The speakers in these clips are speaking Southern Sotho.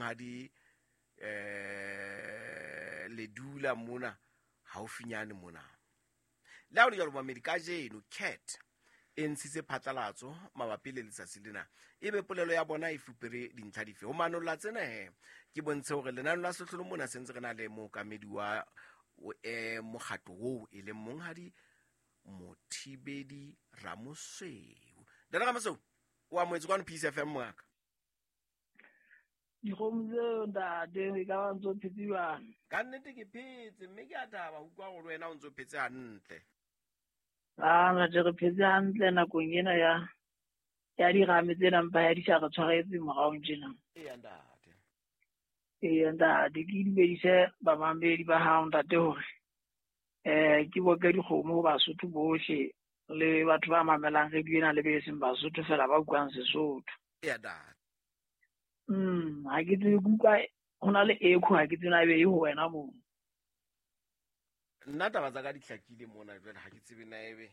Monghadi le dula mona haufinyane mona. Le ha ho le jwalo, momamedi, kajeno CAT e ntshitse phatlalatso mabapi le letsatsi lena. Ebe polelo ya bona e fupere dintlha dife? Ho manolla tsena he, ke bontshe hore lenane la sehlolo mona se ntse re na le mookamedi wa mokgatlo oo e leng Monghadi Mothibedi Ramosweu. Ntate Ramosweu, o amohetse kwano Peace FM, mongaka. Dikgomo tseo ntate, e ka ba ntse o phetse jwang? Ka nnete ke phetse, mme ke a thaba ho utlwa hore wena o ntse o phetse hantle. A ntate, re phetse hantle nakong ena ya dirame tsena, mpa ya di sa re tshwaretse moraong tjena. Eya ntate. Eya ntate, ke dumedise bamamedi ba hao ntate hore ke boke dikgomo ho Basotho bohle le batho ba mamelang radio ena le be seng Basotho fela ba utlwang Sesotho. Eya ntate. Ha ke tsebe, ke utlwa ho na le echo, ha ke tsebe na ebe e ho wena moo. Nna taba tsa ka di hlakile mona jwale, ha ke tsebe na ebe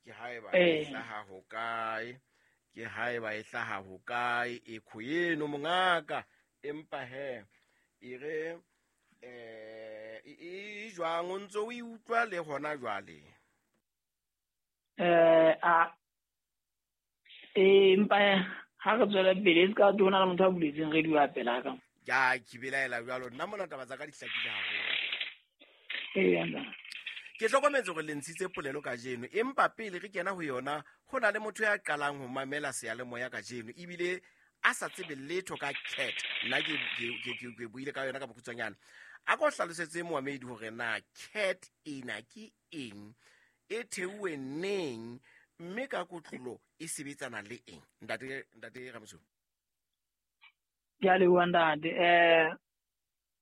ke haeba e hlaha ho kae, ke haeba e hlaha ho kae echo eno mongaka, empa he e re e jwang o ntso o e utlwa le hona jwale? A empa ha re tswela pele e se ka ho na le motho a buletseng radio a pela ka. Ja, ke belaela jwalo, nna mona taba tsa ka di hlakile haholo. Eya nna. Ke hlokometse hore le ntshitse polelo kajeno, empa pele re kena ho yona, ho na le motho ya qalang ho mamela seyalemoya kajeno ebile a sa tsebe letho ka CAT. Nna ke buile ka yona ka bokgutshwanyane. A ko hlalosetse moamedi hore na CAT ena ke eng, e theuwe neng, mme ka kotlolo e sebetsana le eng? Ntate Ramosweu. Ke a leboha ntate.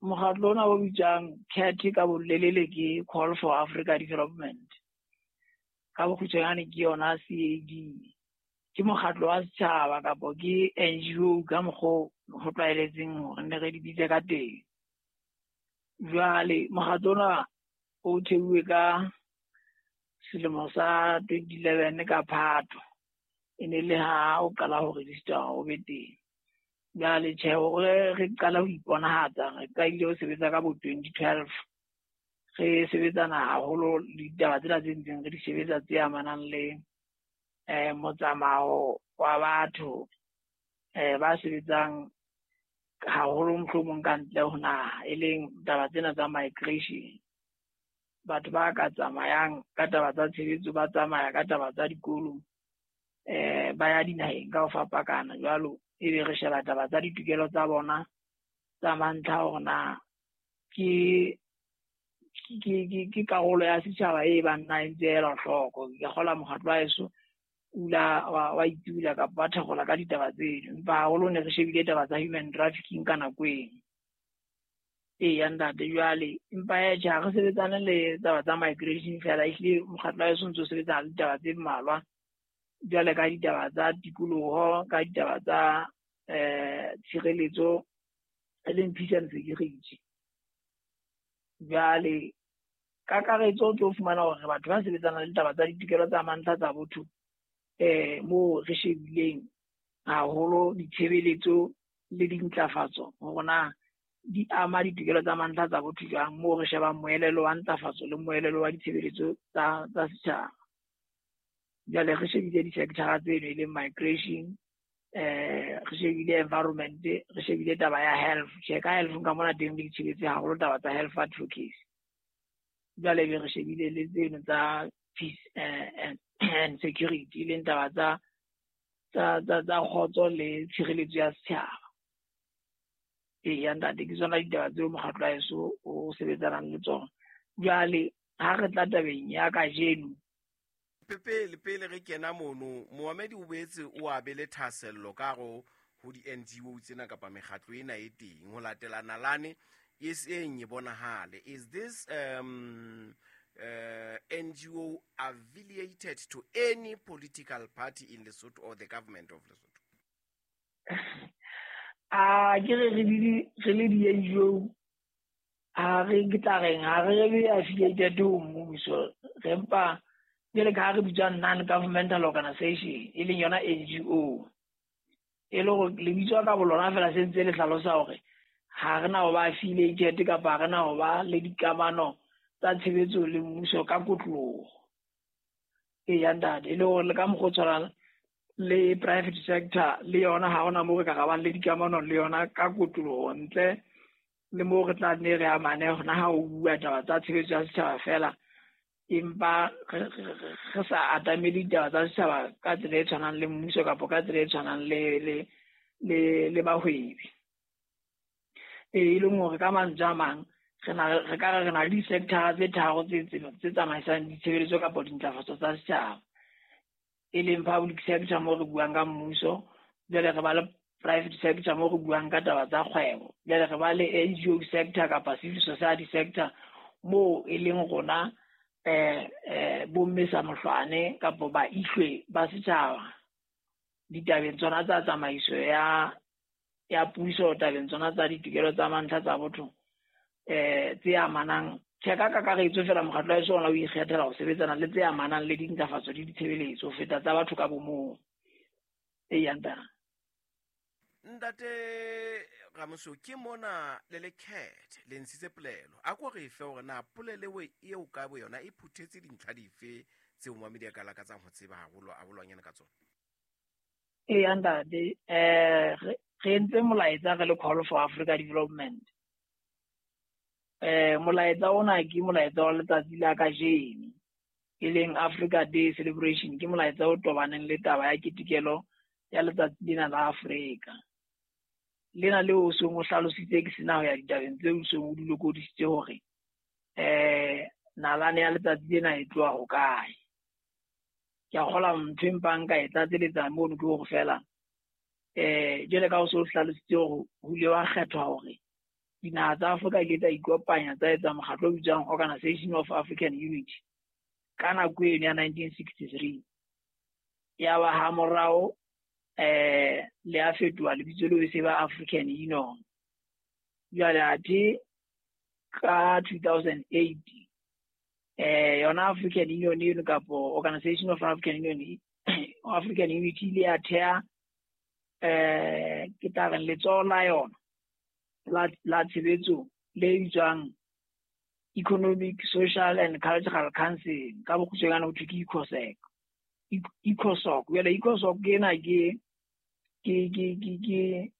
Mokgatlo ona o bitswang CAT ka bolelele ke Call for Africa Development. Ka bokgutshwanyane ke yona CAD. Ke mokgatlo wa setjhaba kapo ke NGO ka mokgwa ho tlwaeletseng hore ne re di bitse ka teng. Jwale mokgatlo ona o theuwe ka selemo sa 2011 ka Phato. E ne le ha o qala ho register o be teng. Jwale tjhe, hore re qala ho iponahatsa, re qadile ho sebetsa ka bo 2012. Re sebetsana haholo le ditaba tsena tse ntseng re di sebetsa tse amanang le motsamao wa batho ba sebetsang haholo mohlomong ka ntle ho naha, e leng taba tsena tsa migration. Batho ba ka tsamayang ka taba tsa tshebetso, ba tsamaya ka taba tsa dikolo, ba ya dinaheng ka ho fapakana jwalo, ebe re sheba taba tsa ditokelo tsa bona tsa mantlha hore na ke karolo ya setjhaba e bang na e ntse e elwa hloko. Ke kgolwa mokgatlo wa heso ula wa itula kapa wa thakgola ka ditaba tseno, empa haholo ne re shebile taba tsa human trafficking ka nako eno. Eya ntate, jwale empa tjhe, ha re sebetsane le taba tsa migration fela, ehlile mokgatlo wa heso o ntso sebetsana le ditaba tse mmalwa jwale ka ditaba tsa tikoloho, ka ditaba tsa tshireletso e leng peace and security. Jwale kakaretso o tlo fumana hore batho ba sebetsanang le ditaba tsa ditokelo tsa mantlha tsa botho, moo re shebileng haholo ditshebeletso le dintlafatso hore na di ama ditokelo tsa mantlha tsa botho jwang, moo re shebang moelelo wa ntlafatso le moelelo wa ditshebeletso tsa setjhaba. Jwale re shebile di-sector tseno e leng migration, re shebile environment, re shebile taba ya health. Tjhe, ka health ka mona teng re itshebetse haholo taba tsa health advocacy. Jwale be re shebile le tseno tsa peace and security, e leng taba tsa kgotso le tshireletso ya setjhaba. Eya ntate, ke tsona ditaba tseo mokgatlo wa heso o sebetsanang le tsona. Jwale ha re tla tabeng ya kajeno, pele re kena mono, moamedi o boetse o a be le thahasello ka hare ho di-NGO tsena kapa mekgatlo ena e teng ho latela nalane e seng e bonahale. Is this NGO affiliated to any political party in Lesotho or the government of Lesotho? A ke re re le di-NGO, ha re ke tla reng, ha re le affiliated ho mmuso, re mpa jwale ka ha re bitswa non-governmental organization, e leng yona NGO. E le hore lebitso ka bolona fela se ntse le hlalosa hore Ha re na ho ba affiliated kapa ha re na ho ba le dikamano tsa tshebetso le mmuso ka kotloloho. Eya ntate, e le hore le ka mokgwa o tshwanang le private sector le yona ha hona moo re ka rabang le dikamano le yona ka kotloloho ntle le moo re tla nne re amane hona ha o bua taba tsa tshebetso ya setjhaba feela, empa re sa atamele ditaba tsa setjhaba ka tsela e tshwanang le mmuso kapa ka tsela e tshwanang le bahwebi. E leng hore ka mantswe a mang re ka re re na le di-sector tse tharo tse tsamaisang ditshebeletso kapa dintlafatso tsa setjhaba, e leng public sector moo re buang ka mmuso, jwale re ba le private sector moo re buang ka taba tsa kgwebo, jwale re ba le NGO sector kapa civil society sector moo e leng rona bomme sa mohlwane kapa baihlwe ba setjhaba ditabeng tsona tsa tsamaiso ya puso, tabeng tsona tsa ditokelo tsa mantlha tsa botho tse amanang. Tjhe, ka kakaretso fela mokgatlo wa heso ona o ikgethela ho sebetsana le tse amanang le dintlafatso le ditshebeletso ho feta tsa batho ka bomong. Eya ntate. Ntate Ramoso, ke mona le le CAT le ntshitse polelo. A ko re fe hore na polelo eo ka bo yona e phuthetse dintlha dife tseo momamedi a ka lakatsang ho tseba haholo haholwanyane ka tsona? Eya ntate, re entse molaetsa re le Call for Africa Development. Molaetsa ona ke molaetsa wa letsatsi la kajeno, e leng Africa Day Celebration. Ke molaetsa o tobaneng le taba ya ketekelo ya letsatsi lena la Afrika. Lena leo o seng o hlalositse ke sena ho ya ditabeng tseo o seng o di lokodisitse hore nalane ya letsatsi lena e tloha hokae. Ke a kgolwa ntho e mpang ka e tlatseletsa mono ke hore fela jwale ka o so o hlalositse hore ho ile wa kgethwa hore dinaha tsa Afrika di ile tsa ikopanya tsa etsa mokgatlo o bitswang Organization of African Unity ka nako eno ya 1963. Ya ba ha morao le a fetoha lebitso leo e se ba African Union. Jwale athe ka 2008 yona African Union eno kapo Organization of African Union, African Unity ile ya theha ke tla reng letsoho la yona la tshebetso le bitswang Economic, Social and Cultural Council, ka bokgutshwanyane ho thwe ke ECOSOC. ECOSOC. Jwale ECOSOC ena ke re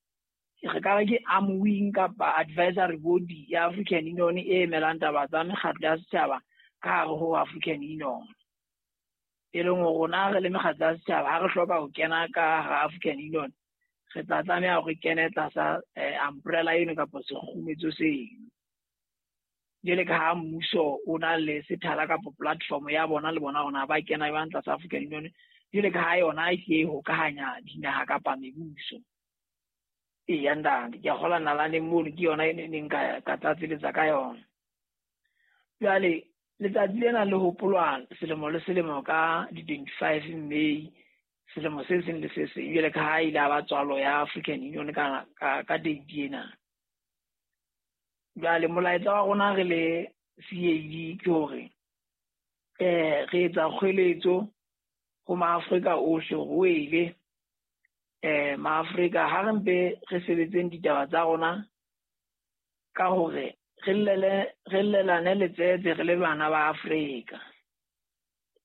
ka re ke arm wing kapa advisory body ya African Union e emelang taba tsa mekgatlo ya setjhaba ka hare ho African Union. E leng hore rona re le mekgatlo ya setjhaba ha re hloka ho kena ka hara African Union, re tla tlameha hore re kene tlasa umbrella eno kapa sekgumetso seno. Jwale ka ha mmuso o na le sethala kapa platform ya bona le bona hore ba kena jwang tlasa African Union, jwale ka ha yona e tle e hokahanya dinaha kapa mebuso. Eya ntate, ke a kgolwa nalaneng mono ke yona e neng ka tlatseletsa ka yona. Jwale letsatsi lena le hopolwa selemo le selemo ka di-25 May selemo se seng le se seng, jwale ka ha ile a ba tswalo ya African Union ka date ena. Jwale molaetsa wa rona re le CAD ke hore re etsa kgweletso ho maAfrika ohle hore o ele maAfrika ha re mpe re sebetseng ditaba tsa rona ka hore re llelane letsetse re le bana ba Afrika.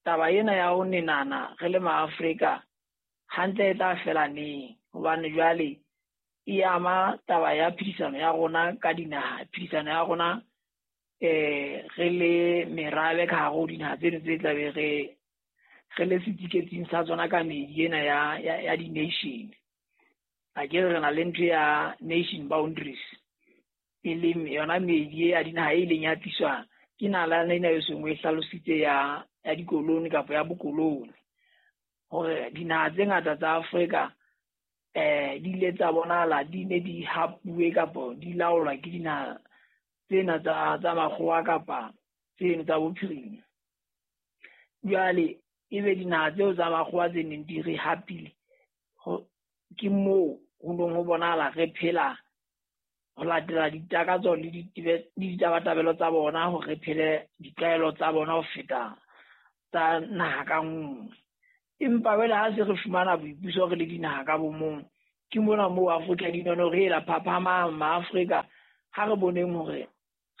Taba ena ya ho nenana re le maAfrika hantle e tla fela neng, hobane jwale e ama taba ya phedisano ya rona ka dinaha, phedisano ya rona re le merabe ka hare ho dinaha tseno tse tla be re le setiketsing sa tsona ka meedi ena ya di-nation. A ke re na le ntho ya nation boundaries, e leng yona meedi ya dinaha e leng ya tliswa ke nalane ena e seng e hlalositse ya dikoloni kapa ya bokoloni, hore dinaha tse ngata tsa Afrika di ile tsa bonahala di ne di hapuwe kapa di laolwa ke dinaha tsena tsa makgowa kapa tseno tsa bophirima. Jwale ebe dinaha tseo tsa makgowa tse neng di re hapile, ke moo ho neng ho bonahala re phela ho latela ditakatso le ditabatabelo tsa bona, hore re phele ditlwaelo tsa bona ho feta tsa naha ka nngwe. Empa jwale ha se re fumana boipuso re le dinaha ka bomong, ke mona moo African Union re ela phaphamang maAfrika Ha re boneng hore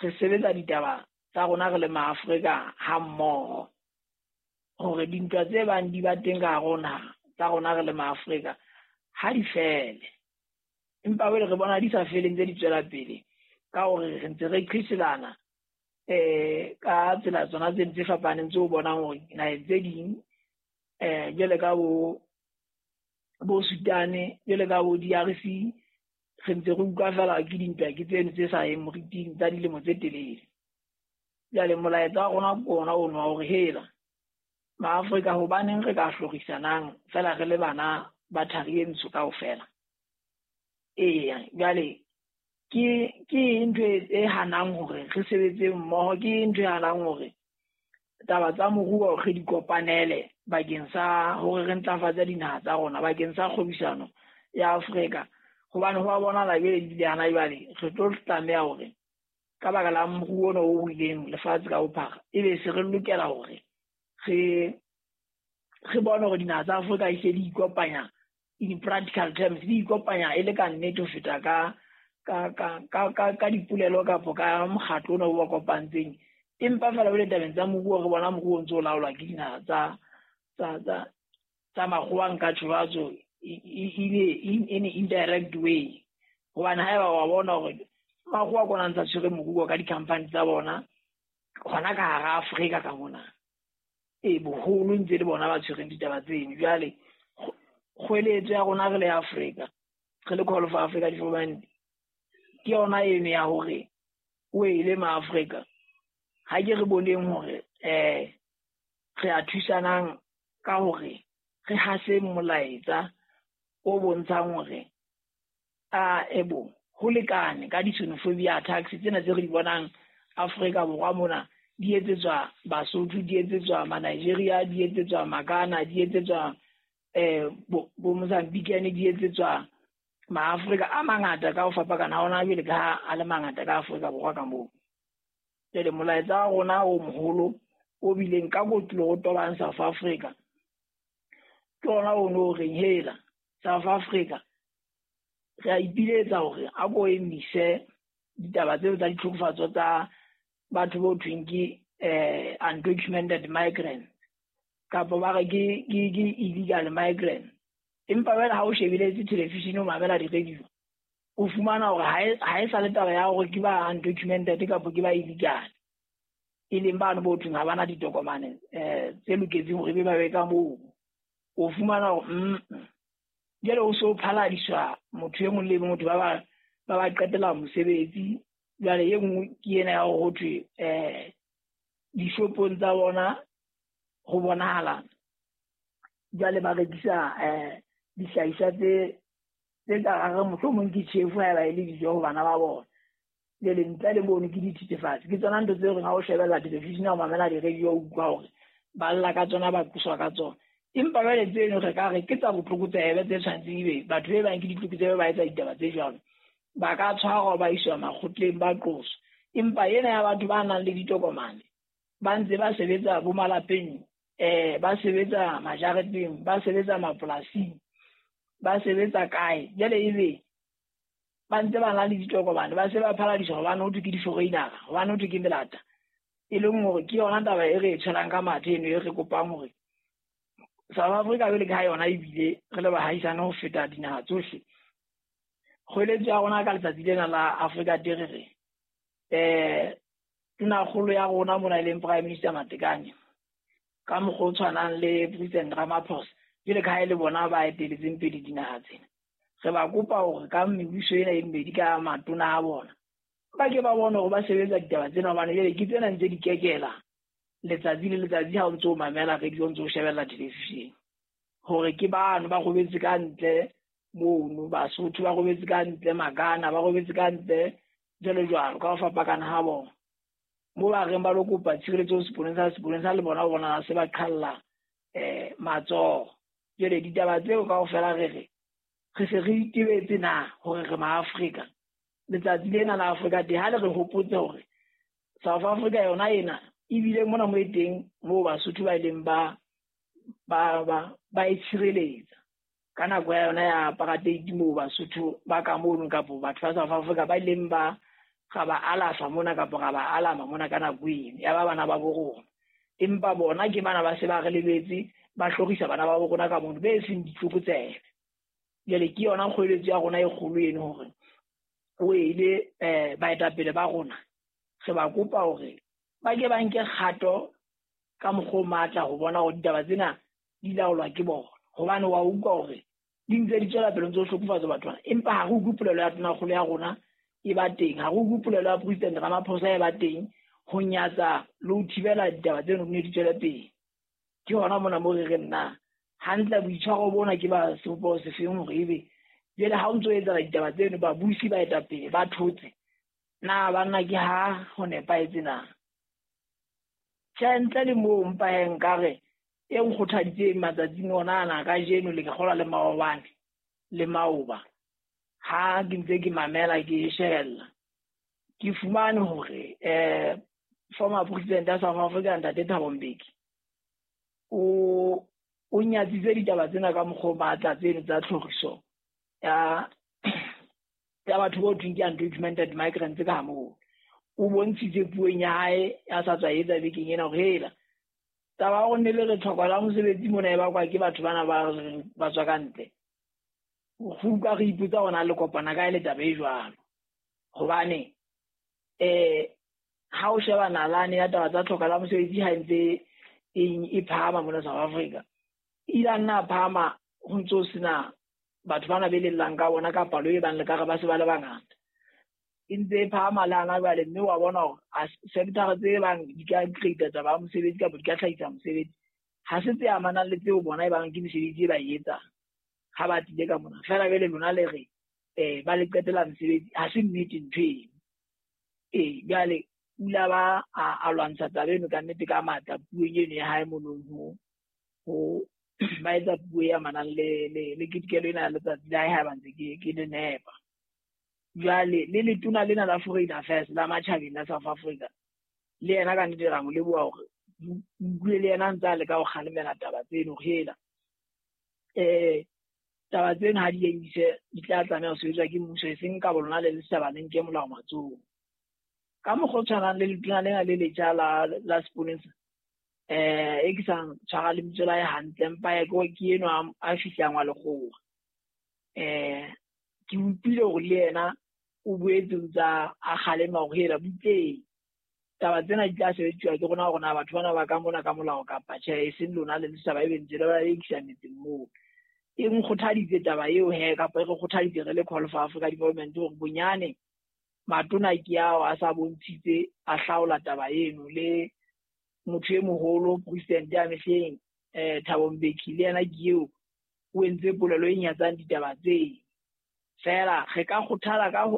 re sebetsa ditaba tsa rona re le maAfrika ha mmoho, hore dintwa tse bang di ba teng ka rona tsa rona re le maAfrika ha di fele, empa jwale re bona di sa feleng tse di tswela pele ka hore re ntse re qhiselana ka tsela tsona tse tse fapaneng tseo bonang hore naheng tse ding jwale ka bo Sudan, jwale ka bo DRC, re ntse re utlwa fela ke dintwa ke tseno tse sa yeng moriting tsa dilemo tse telele. Jwale molaetsa wa rona ke ona ono wa hore hela maAfrika, hobaneng re ka hlorisanang fela re le bana ba thari e ntsho kaofela? Eya, jwale ke ntho e hanang hore re sebetse mmoho, ke ntho e hanang hore taba tsa moruo re di kopanele bakeng sa hore re ntlafatse dinaha tsa rona, bakeng sa kgwebisano ya Afrika. Hobane ho a bonahala jwale ebile hana jwale re tlo tlameha hore ka baka la moruo ona o wileng lefatshe ka bophara, ebe se re lokela hore re bone hore dinaha tsa Afrika e se di ikopanya in practical terms, di ikopanya e le ka nnete ho feta ka dipolelo kapa ka mokgatlo ona o ba kopantseng. Empa fela jwale tabeng tsa moruo re bona moruo o ntso o laolwa ke dinaha tsa makgowa, nka tjho in indirect way. Hobane haeba wa bona hore makgowa ke ona a ntsa tshwere moruo ka di-company tsa bona hona ka hara Afrika ka mona, boholo ntse le bona ba tshwereng ditaba tseno. Jwale kgweletso ya rona re le Afrika, re le Call for Africa Development, ke yona eno ya hore o ele maAfrika, ha ke re boneng hore re a thusanang ka hore re hase molaetsa o bontshang hore a ebo ho lekane ka di-xenophobia attacks tsena tse re di bonang Afrika Borwa mona, di etsetswa Basotho, di etsetswa ma-Nigeria, di etsetswa Makana, di etsetswa bo Mozambique, di etsetswa maAfrika a mangata ka ho fapana ha ona jwale ka ha a le mangata ka Afrika Borwa ka moo. Jwale molaetsa wa rona o moholo o bileng ka kotulo o tobang South Africa ke ona ono o reng hela South Africa re a ipiletsa hore a ko emise ditaba tseo tsa ditlhokofatso tsa batho bo thweng ke undocumented migrants kapa ba re ke illegal migrants. Empa jwale ha o shebeletse television o mamela di-radio, o fumana hore ha e sa le taba ya hore ke ba undocumented kapa ke ba illegal, e leng bano bo thweng ha bana ditokomane tse loketseng hore ebe ba be ka moo. O fumana hore jwale o so phaladiswa motho e mong le motho ba ba qetela mosebetsi. Jwale e nngwe ke ena ya hore ho thwe dishopong tsa bona ho bonahala jwale ba rekisa dihlahiswa tse ka hare mohlomong ke tjhefu haeba e le dijo ho bana ba bona. Jwale ntle le mono ke dithethefatsi, ke tsona ntho tse reng ha o shebella television o mamela di-radio o utlwa hore ba lla ka tsona, ba qoswa ka tsona. Empa jwale tseno re ka re ke tsa botlokotsebe tse tshwanetseng ebe batho be bang ke ditlokotsebe ba etsa ditaba tse jwalo, ba ka tshwarwa ba iswa makgotleng ba qoswa. Empa ena ya batho ba nang le ditokomane ba ntse ba sebetsa bo malapeng, ba sebetsa majareteng, ba sebetsa mapolasing, ba sebetsa kae, jwale ebe ba ntse ba na le ditokomane ba se ba phaladiswa hobane ho thwe ke di-foreigner, hobane ho thwe ke melata. E leng hore ke yona taba e re e tshwelang ka mathe eno e re kopang hore South Africa jwale ka ha yona ebile re le bahaisane ho feta dinaha tsohle. Kgweletso ya rona ka letsatsi lena la Africa Day re re tonakgolo ya rona mona e leng Prime Minister Matekane ka mokgwa o tshwanang le President Ramaphosa, jwale ka ha e le bona ba eteletseng pele dinaha tsena, re ba kopa hore ka mebuso ena e mmedi ka matona a bona ba ke ba bone hore ba sebetsa ditaba tsena, hobane jwale ke tsena ntse di kekela letsatsi le letsatsi ha o ntso o mamela radio, o ntso o shebella television, hore ke bano ba robetse ka ntle mono, Basotho ba robetse ka ntle, Makana ba robetse ka ntle, jwalo jwalo ka ho fapakana ha bona. Mo ba reng ba lo kopa tshireletso seponesa le bona bona se ba qhalla matsoho. Jwale ditaba tseo kaofela re re re se re itebetse na hore re maAfrika. Letsatsi lena la Africa Day ha le re hopotse hore South Africa yona ena ebile mona mo e teng moo Basotho ba ileng ba e tshireletsa ka nako ya yona ya apartheid, moo Basotho ba ka mono kapa batho ba South Africa ba ileng ba ra ba alafa mona kapa ra ba alama mona ka nako eno, ya ba bana ba bo rona. Empa bona ke bana ba se ba re lebetse, ba hlorisa bana ba bo rona ka mono be seng ditlokotsebe. Jwale ke yona kgoeletso ya rona e kgolo eno hore o ile baetapele ba rona re ba kopa hore ba ke ba nke kgato ka mokgwa o matla ho bona hore ditaba tsena di laolwa ke bona. Hobane wa utlwa hore di ntse di tswela pele ntse ho hlokofatsa batho bana, empa ha re utlwe polelo ya tonakgolo ya rona e ba teng, ha re utlwe polelo ya President Ramaphosa e ba teng ho nyatsa le ho thibela ditaba tseno di ne di tswele pele. Ke hona mona mo re reng na hantle boitshwaro bona ke ba sebopeho sefeng hore ebe jwale ha o ntso etsahala ditaba tseno babusi baetapele ba thotse, na banna ke ha ho nepahetse na? Tjhe, ntle le moo mpa he nkare e nkgothaditseng matsatsing ona ana kajeno le ke kgolwa le maobane le maoba, ha ke ntse ke mamela ke shebella, ke fumane hore former president ya South Africa Ntate Thabo Mbeki o nyatsitse ditaba tsena ka mokgwa o matla tseno tsa tlhoriso ya batho bo thweng ke undocumented migrants ka moo. O bontshitse puong ya hae ya sa tswa etsa bekeng ena hore hela taba ya hore ne le re tlhoko la mosebetsi mona e bakwa ke batho bana ba tswa ka ntle. Go utlwa re ipotsa hore na le kopana kae le taba e jwalo. Hobane ha o sheba nalane ya taba tsa tlhoko la mosebetsi ha ntse e phahama mona South Africa, e ile a nna a phahama ho ntso ho sena batho bana be lellang ka bona ka palo e bang le ka re ba se ba le bangata. E ntse e phahama le hana jwale, mme wa bona hore sector tse bang di ka create taba ya mosebetsi kapa di ka hlahisa mosebetsi, ha se tse amanang le tseo bona e bang ke mesebetsi e ba e etsang ha ba tlile ka mona. Feela jwale lona le re ba le qetela mosebetsi, ha se nnete ntho eno. Jwale o ile ba a lwantsha taba eno ka nnete ka matla puong eno ya hae monong ho ba etsa puo e amanang le ketekelo ena ya letsatsi la hae ha ba ntse ke le nepa. Jwale le letona lena la Foreign Affairs la matjhabeng la South Africa, le yena ka nnete ra mo leboha hore utlwile le yena ntse a leka ho kgalemela taba tseno hore hela taba tseno ha di emise di tla tlameha ho sebetswa ke mmuso, e seng ka bolona le setjhaba le nke molao matsohong. Ka mokgwa o tshwanang le letona lena le letjha la seponesa e ke sa tshwara lebitso la hae hantle, empa ke enwa a fihlang wa lekgowa. Ke utlwile hore le yena o boetse o ntsa a kgalema hore hela butleng taba tsena di tla sebediswa ke rona hore na batho bana ba ka mona ka molao kapa tjhe, e seng lona le setjhaba e be ntse le ba ekisa metseng moo. E nkgothaditse taba eo he, kapa e re kgothaditse re le Call for Africa Development hore bonyane matona ke ao a sa bontshitse a hlaola taba eno. Le motho e moholo president ya mehleng Thabo Mbeki le yena ke eo o entse polelo e nyatsang ditaba tse. Feela re ka kgothala ka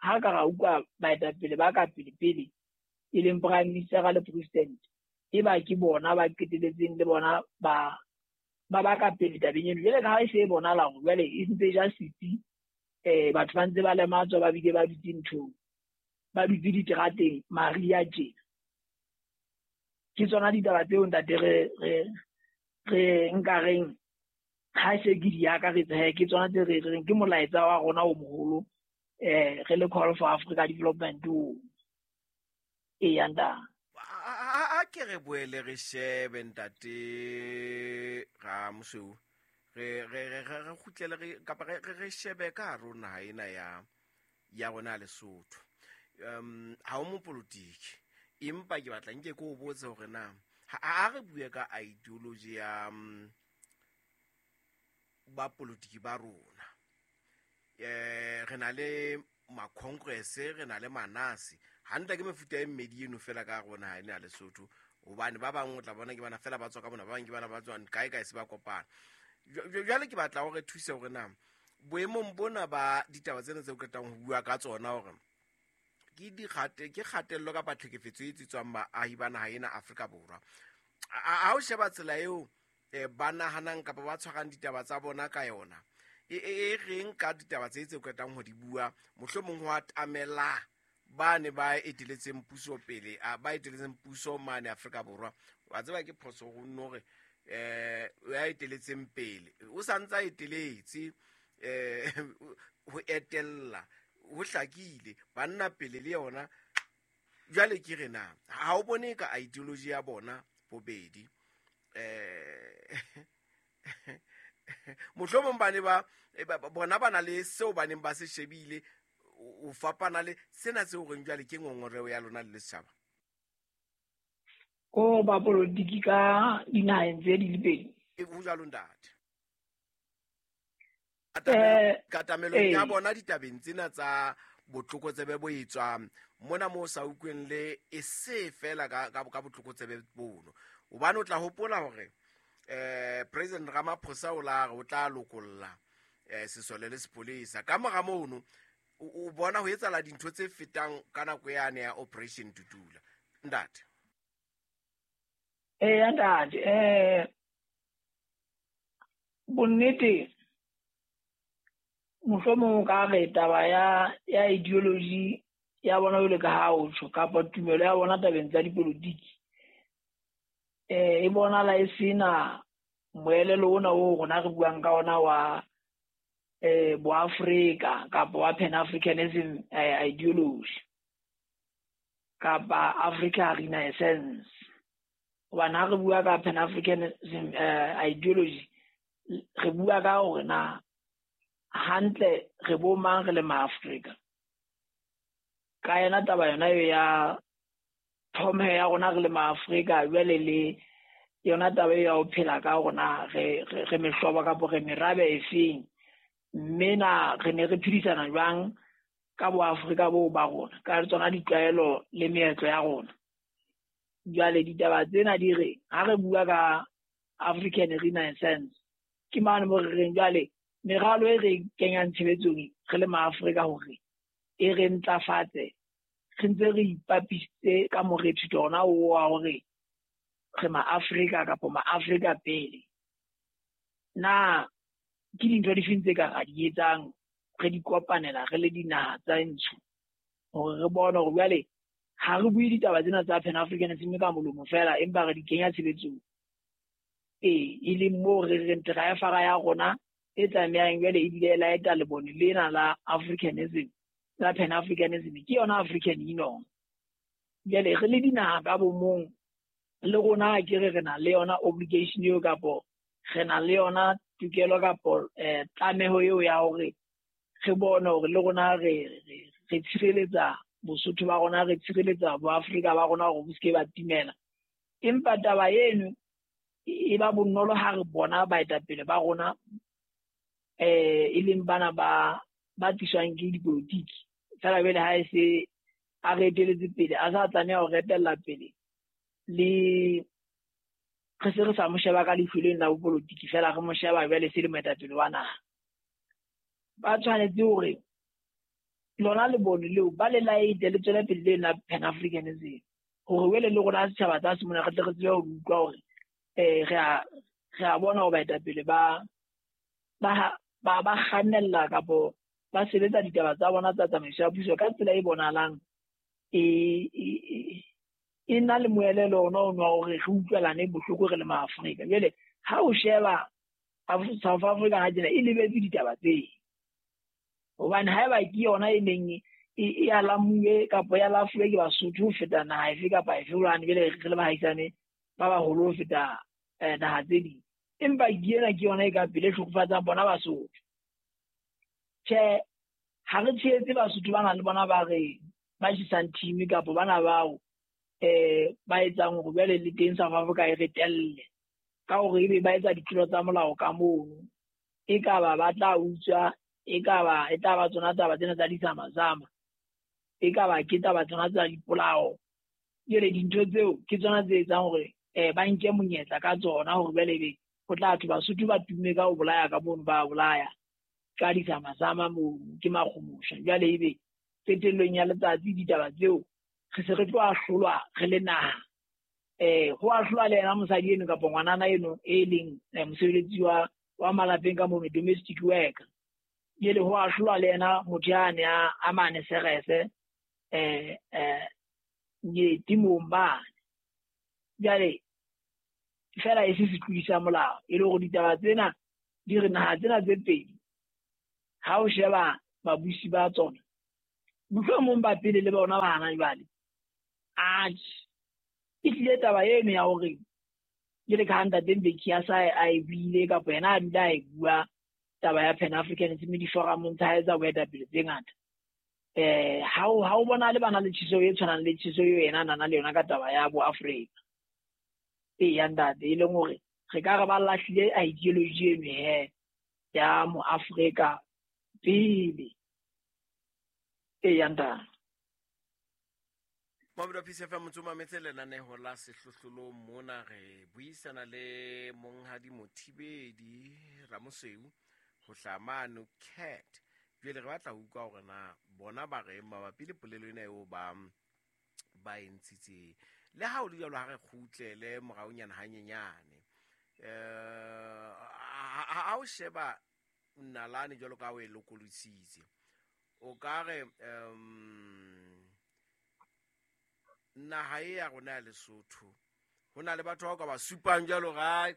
ha ka ra utlwa baetapele ba ka pele pele e leng prime minister le president, e ba ke bona ba qeteletseng le bona ba ba ka pele tabeng eno. Jwale ka ha e se e bonahala hore jwale e ntse ja setsi, batho ba ntse ba lematswa, ba bile ba dutse nthong, ba dutse diterateng mariha tjena. Ke tsona ditaba tseo ntate re nkareng ha se ke di akaretsa he, ke tsona tse re reng ke molaetsa wa rona o moholo re le Call for Africa Development o. Eya ntate. A ke re boele re shebe ntate Ramosweu, re kgutlele re kapa re shebe ka hare ho naha ena ya rona ya Lesotho. Ha o mopolotiki, empa ke batla nke ke o botse hore na ha re bue ka ideology ya ba politiki ba rona. Re na le ma-congress, re na le manasi. Hantle ke mefuta e mmedi eno fela ka rona ha ena ya Lesotho, hobane ba bang o tla bona ke bana fela ba tswa ka mona, ba bang ke bana ba tswang kae kae se ba kopana. Jwale ke batla hore thuse hore na boemong bona ba ditaba tsena tse o qetang ho bua ka tsona hore ke ke kgatello kapa tlhekefetso e tswang baahi ba naha ena Afrika Borwa. Ha o sheba tsela eo ba nahanang kapa ba tshwarang ditaba tsa bona ka yona, e reng ka ditaba tse tse qetang ho di bua, mohlomong ho atamela ba ne ba eteletseng puso pele, ba eteletseng puso mane Afrika Borwa. Wa tseba ke phoso ho nno hore ya eteletseng pele o sa ntsa eteletse ho etella Ho hlakile banna pele le yona. Jwale ke re na ha o bone ka ideology ya bona bobedi, mohlomong ba ne ba bona ba na le seo ba neng ba se shebile, o fapana le sena seo reng jwale ke ngongoreo ya lona le setjhaba. Ko ba politiki ka dinaheng tse di le pedi. E ho jwalo ntate. Katamelo ya bona ditabeng tsena tsa botlokotsebe bo etswang mona mo sa utlweng le e se fela ka botlokotsebe bono. Hobane o tla hopola hore President Ramaphosa o la re o tla lokolla sesole le sepolesa. Ka mora mono o bona ho etsahala dintho tse fetang ka nako yane ya Operation Dudula. Ntate. Ntate, bonnete mohlomong o ka re taba ya ideology ya bona jwalo ka ha o tjho, kapa tumelo ya bona tabeng tsa dipolotiki, e bonahala e sena moelelo ona oo rona re buang ka ona wa boAfrika kapa wa Pan-Africanism ideology kapa Africa Renaissance. Hobane ha re bua ka Pan-Africanism ideology, re bua ka hore na hantle re bo mang re le maAfrika. Ka yona taba yona eo ya tlhompho ya rona re le maAfrika, jwale le yona taba eo ya ho phela ka rona re mehlobo kapa re merabe efeng, mme na re ne re phedisana jwang ka boAfrika boo ba rona, ka tsona ditlwaelo le meetlo ya rona. Jwale ditaba tsena di re ha re bua ka African Renaissance, ke mane mo re reng jwale meralo e re kenyang tshebetsong re le maAfrika hore e re ntlafatse, re ntse re ipapisitse ka morethetho ona oo wa hore re maAfrika kapa maAfrika pele. Na ke dintho difeng tse ka ra di etsang re di kopanela re le dinaha tsa ntsho hore re bone hore jwale ha re bue ditaba tsena tsa Pan-Africanism ka molomo fela, empa re di kenya tshebetsong. E leng moo re reng driver ya rona e tlamehang jwale ebile e laeta lebone lena la Africanism, la Pan-Africanism, ke yona African Union. Jwale re le dinaha ka bomong le rona ke re re na le yona obligation eo kapo re na le yona tokelo kapo tlameho eo ya hore re bone hore le rona re tshireletsa Bosotho ba rona, re tshireletsa boAfrika ba rona hore bo se ke ba timela. Empa taba eno e ba bonolo ha re bona baetapele ba rona e leng bana ba tliswang ke dipolotiki. Fela jwale ha e se a re eteletse pele, a sa tlameha ho re etella pele, le re se re sa mo sheba ka leihlo leno la bopolotiki fela, re mo sheba jwale se le moetapele wa naha. Ba tshwanetse hore lona lebone leo ba le laete le tswele pele le la Pan-Africanism, hore wele le rona setjhaba tsa se mona re tle re tsebe ho utlwa hore re a bona hore baetapele ba kgannella kapo ba sebetsa ditaba tsa bona tsa tsamaiso ya puso ka tsela e bonahalang e na le moelelo ona ono wa hore re utlwelane bohloko re le maAfrika. Jwale ha o sheba South Africa ha tjena e lebetse ditaba tseo, hobane haeba ke yona e neng e alamuwe kapa ya lafuwe ke Basotho ho feta naha efe kapa efe, hobane jwale re le bahaisane ba baholo ho feta naha tse ding, empa ke ena ke yona e ka pele e hlokofatsang bona Basotho. Tjhe, ha re tshehetse Basotho bana le bona ba re ba tjhesang team kapa bana bao ba etsang hore jwale le teng South Africa e re telle ka hore ebe ba etsa ditlolo tsa molao ka mono, e ka ba ba tla utswa, e ka ba e tla ba tsona taba tsena tsa disamazama, e ka ba ke taba tsona tsa dipolao. Jwale dintho tseo ke tsona tse etsang hore ba nke monyetla ka tsona hore jwale ebe ho tla thwe Basotho ba tumme ka ho bolaya ka mono, ba bolaya ka disamazama mono ke makgomosha. Jwale ebe qetellong ya letsatsi ditaba tseo re se re tlo ahlolwa re le naha. Ho ahlolwa le yena mosadi eno kapa ngwanana eno e leng mosebeletsi wa malapeng ka mono, domestic worker. Jwale ho ahlolwa le yena motho yane a mane Serese temong mane. Jwale fela e se setlodi sa molao, e le hore ditaba tsena di re naha tsena tse pedi ha o sheba babusi ba tsona Mohlomong ba pele le bona ba hana jwale. Atjhe, e tlile taba eno ya hore jwale ka ha ntate Mbeki a sa a e buile kapa yena a dula a e bua taba ya Pan Africanism diforumong tsa hae tsa boetapele tse ngata. Ha o bona le bana le tjheseho e tshwanang le tjheseho eo yena a nang le yona ka taba ya bo Afrika. Eya ntate, e leng hore re ka re ba lahlile ideology eno he ya mo Afrika pele. Eya ntate. Mamedi wa Peace FM, motho o mametse lenaneho la Sehlohlolong mona. Re buisana le monghadi Mothibedi Ramosweu ho hlaha mano Cat. Jwale re batla ho utlwa hore na bona ba reng mabapi le polelo ena eo ba e ntshitseng. Le ha ho le jwalo, ha re kgutlele moraonyana hanyenyane. Ha o sheba nalane jwalo ka ha o e lokolositse, o ka re naha e ya rona ya Lesotho ho na le batho ba o ka ba supang jwalo ga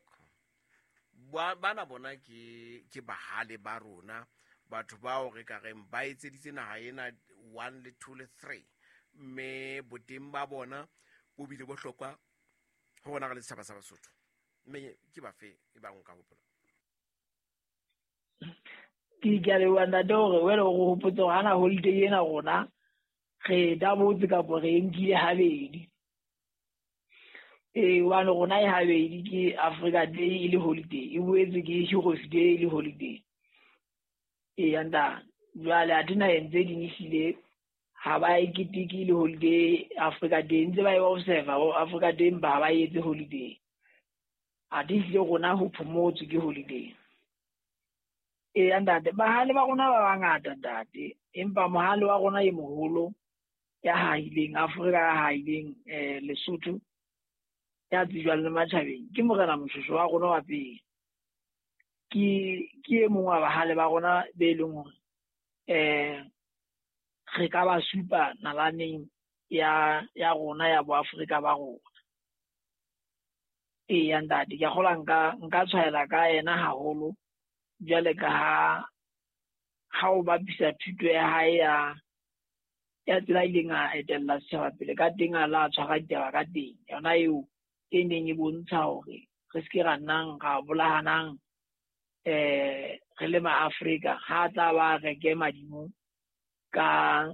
bana bona ke bahale ba rona, batho bao re ka reng ba etseditse naha ena 1 le 2 le 3, mme boteng ba bona bo bile bohlokwa ho rona re le setjhaba sa Basotho. Mme ke bafe e bang o ka hopola? Ke a leboha ntate hore wena o re hopotse hore hana holiday ena rona re dabotse kapa re e nkile habedi. Hobane rona e habedi ke Africa Day e le holiday, e boetse ke Heroes Day e le holiday. Eya ntate, jwale athe naheng tse ding ehlile ha ba e keteke le holiday Africa Day, ntse ba e observe Africa Day empa ha ba e etse holiday. Athe ehlile rona ho phomotswe ke holiday. Eya ntate, bahale ba rona ba bangata ntate, empa mohale wa rona e moholo ya hahileng Afrika, ya hahileng Lesotho, ya tsejwang le matjhabeng ke Morena Moshoeshoe wa rona wa pele. Ke e mong wa bahale ba rona be leng hore re ka ba supa nalaneng ya rona ya boAfrika ba rona. Eya ntate, ke a kgolwa nka tshwaela ka yena haholo jwale ka ha o bapisa thuto ya hae ya tsela ileng a etella setjhaba pele ka teng, a la tshwara ditaba ka teng, yona eo e neng e bontsha hore re se ke ra nnang ra bolahanang re le maAfrika. Ha tla ba reke madimo ka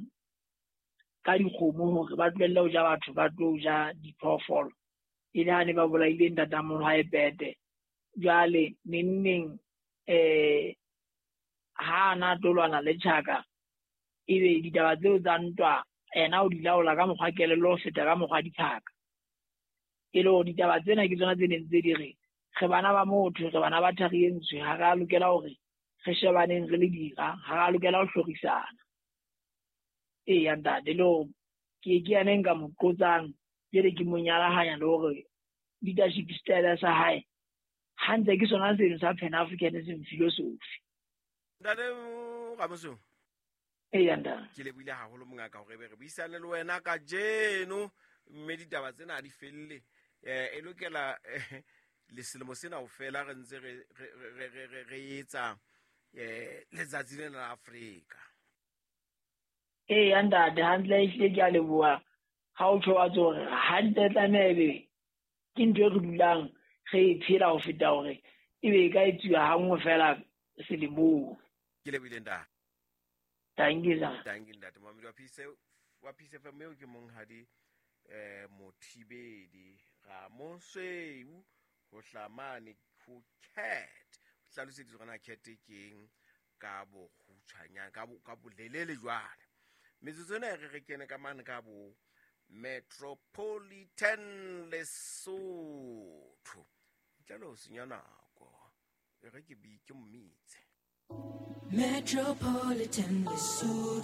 dikgomo hore ba tlohelle ho ja batho, ba tlo ja diphoofolo, e le ha ne ba bolaile ntatemoholo hae Pete. Jwale neng ha ana tlo lwana le tjhaka, ebe ditaba tseo tsa ntwa ena o di laola ka mokgwa kelello ho feta ka mokgwa diphaka. E le hore ditaba tsena ke tsona tse neng tse di re re bana ba motho, re bana ba thari e ntsho, ha re a lokela hore re shebaneng re le dira, ha re a lokela ho hlorisana. Eya ntate, le hore ke yena e nka mo qotsang jwale ke mo nyalahanya le hore leadership style sa hae hantle ke sona seno sa Pan Africanism philosophy. Ntate Ramosweu, Eya ntate, ke lebohile haholo mongaka hore be re buisane le wena kajeno, mme ditaba tsena ha di felle. E lokela le selemo sena ho fela re ntse re etsa letsatsi lena la Afrika. Eya ntate, hantle ehlile ke a leboha ha o tjho wa tswa hore hantle tlameha ebe ke ntho e re dulang re e phela ho feta hore ebe e ka etsuwa hanngwe fela selemong. Ke lebohile ntate. Thank you, sir. Thank you, ntate. Mamedi wa Peace FM eo ke monghadi Mothibedi Ramosweu ho hlamane ho Cat. O hlaloseditse hore na Cat ke eng ka bokgutshwanyane, ka bolelele jwale. Metsotso ena e re kene ka mane ka bo Metropolitan Lesotho. Ntle le ho senya nako, e re ke ke mmitse. Metropolitan Lesotho.